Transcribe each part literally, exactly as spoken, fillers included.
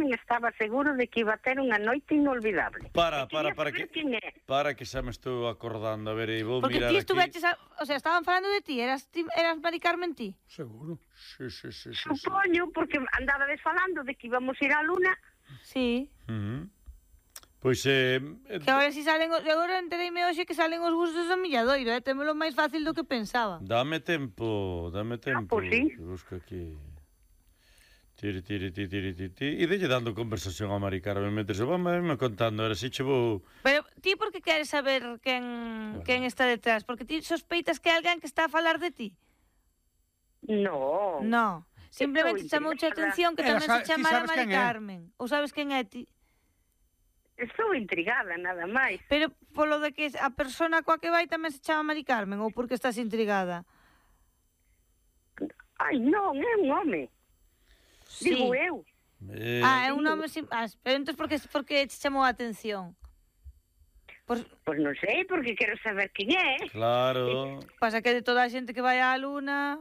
Carmen estaba seguro de que iba a ter unha noite inolvidable. Para, para, para que para que xa me estou acordando, a ver, e vou Porque mirar ti aquí. estuveches, a, o sea, estaban falando de ti, eras ti, eras Mari Carmen ti. Seguro. Sí, sí, sí, sí, sí. Supoño, porque andaba desfalando de que íbamos a ir á Luna. Sí. Uh -huh. Pois eh, que agora si salen, os, agora entereime hoxe que salen os gustos do Milladoiro, eh, témolo máis fácil do que pensaba. Dame tempo, dame tempo. Ah, pues sí. Busco aquí. Tiri, tiri, tiri, tiri, tiri. E delle dando conversación a Mari Carmen mentre se va me contando, ahora si che vou... Pero ti por que queres saber quen, bueno. quen está detrás? Porque ti sospeitas que hai alguén que está a falar de ti? No. No. Simplemente chamouche a atención que tamén se chamara Mari Carmen. Ou sabes quen é ti? Estou intrigada, nada máis. Pero polo de que a persona coa que vai tamén se chama Mari Carmen, ou porque estás intrigada? Ai, non, é un home. Sí. Digo eu. Eh... Ah, é un home... Sin... Ah, pero entón por que, por que te chamou a atención? Pois pues non sei, porque quero saber quen é. Claro. Pasa que de toda a xente que vai á Luna...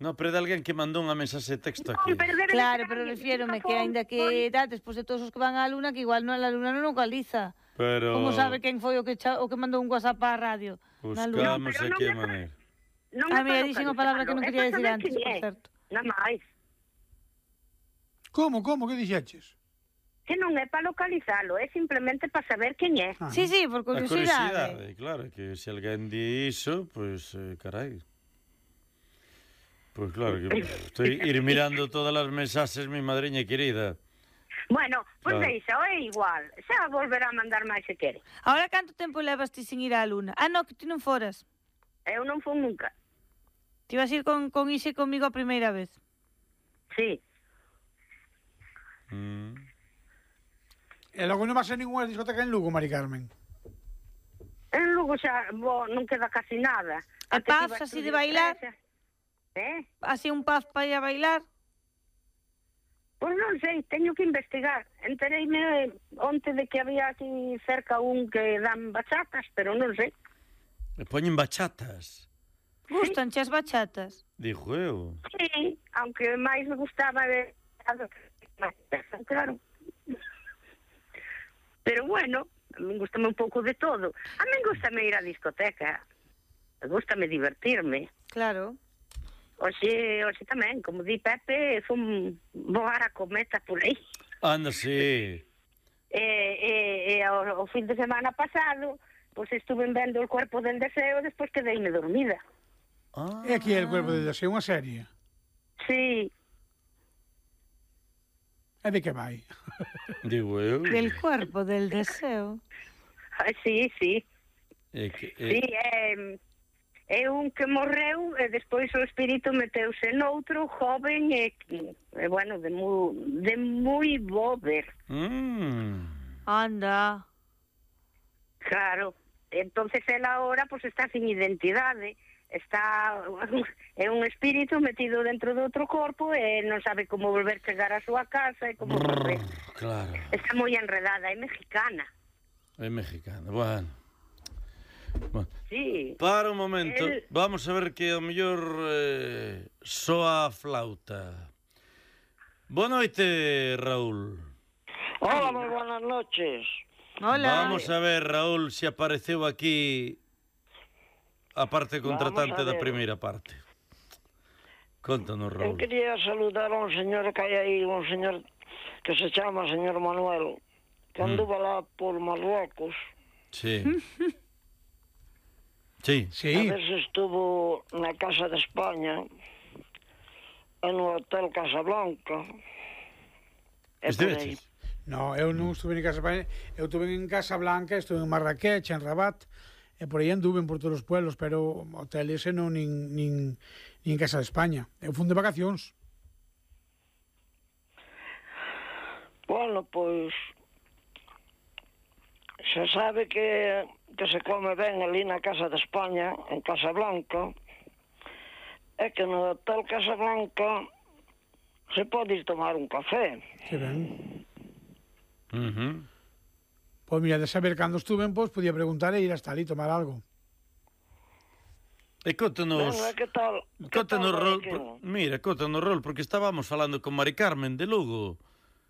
No, pero de alguén que mandou unha mensaxe de texto aquí. Claro, pero refiérome que aínda que da, despois de todos os que van á Luna, que igual non a Luna non localiza. Pero... Como sabe quen foi o que cha... o que mandou un WhatsApp á radio? Buscamos no, aquí a maneira. A mí dixen a palabra que non quería decir antes, por certo. Nada máis. Como, como, que dixeches? Que non é para localizalo, é simplemente para saber quen é. Ah. Sí, sí, por curiosidade. A curiosidade, claro, que se alguén di iso, pois, pues, eh, carai... Pois pues claro, que estoy ir mirando todas as mensaxes, mi madriña querida. Bueno, pois pues claro. Deixa, é igual. Xa volverá a mandar máis se quere. Ahora canto tempo levas ti sin ir á Luna? Ah, no, que ti non foras. Eu non fui nunca. Ti vas ir con, con Ise comigo a primeira vez? Sí. Mm. E logo non vas a ninguna discoteca en Lugo, Mari Carmen? En Lugo xa bo, non queda casi nada. E pubs así de bailar? Eh? Así un pub para ir a bailar? Pois non sei, teño que investigar. Entereime onte de que había aquí cerca un que dan bachatas, pero non sei. Me poñen bachatas? Gustan che as bachatas? Dijo eu. Sí, aunque máis me gustaba de... Claro. Pero bueno, a mí gustame un pouco de todo. A mí gustame ir á discoteca. Gustame divertirme. Claro. Oxe, oxe tamén, como di Pepe, fun voar a cometa por aí. Anda, sí. E, e, e o, o fin de semana pasado, pois pues, estuve vendo El cuerpo del deseo e despois quedeime dormida. Ah. E aquí é El cuerpo del deseo, unha serie? Sí. E de que vai? Digo eu. Del cuerpo del deseo. Ah, sí, sí. É que, é... Sí, é... É un que morreu e despois o espírito meteuse noutro joven e, e bueno, de moi, de moi bo ver. Mm. Anda. Claro. Entonces ela ahora pues está sin identidade. Está é un espírito metido dentro de outro corpo e non sabe como volver chegar á súa casa e como volver. Claro. Está moi enredada, é mexicana. É mexicana, bueno. Bueno, sí. Para un momento, el... vamos a ver que ao mellor eh, soa a flauta. Boa noite, Raúl. Hola, moi buenas noches. Hola. Vamos a ver, Raúl, se apareceu aquí a parte contratante da primeira parte. Contanos, Raúl. Eu quería saludar a un señor que hai aí, un señor que se chama señor Manuel, que anduvo mm. lá por Marruecos. Sí. Sí. Sí. A veces estuvo na Casa de España, en o Hotel Casablanca. Estiveches? No, eu non estuve en Casa España, eu estuve en Casa Blanca, estuve en Marrakech, en Rabat, e por aí anduve por todos os pueblos, pero hotel ese non nin, nin, nin Casa de España. Eu fun de vacacións. Bueno, pois... Se sabe que, que se come ben ali na Casa de España, en Casablanca, é que no Hotel Casablanca se pode ir tomar un café. Que ben. Uh -huh. Pois mira, de saber cando estuven, pois podía preguntar e ir hasta ali tomar algo. E contanos... Bueno, que tal? Contanos, Rol, por, mira, contanos, Rol, porque estábamos falando con Mari Carmen de Lugo.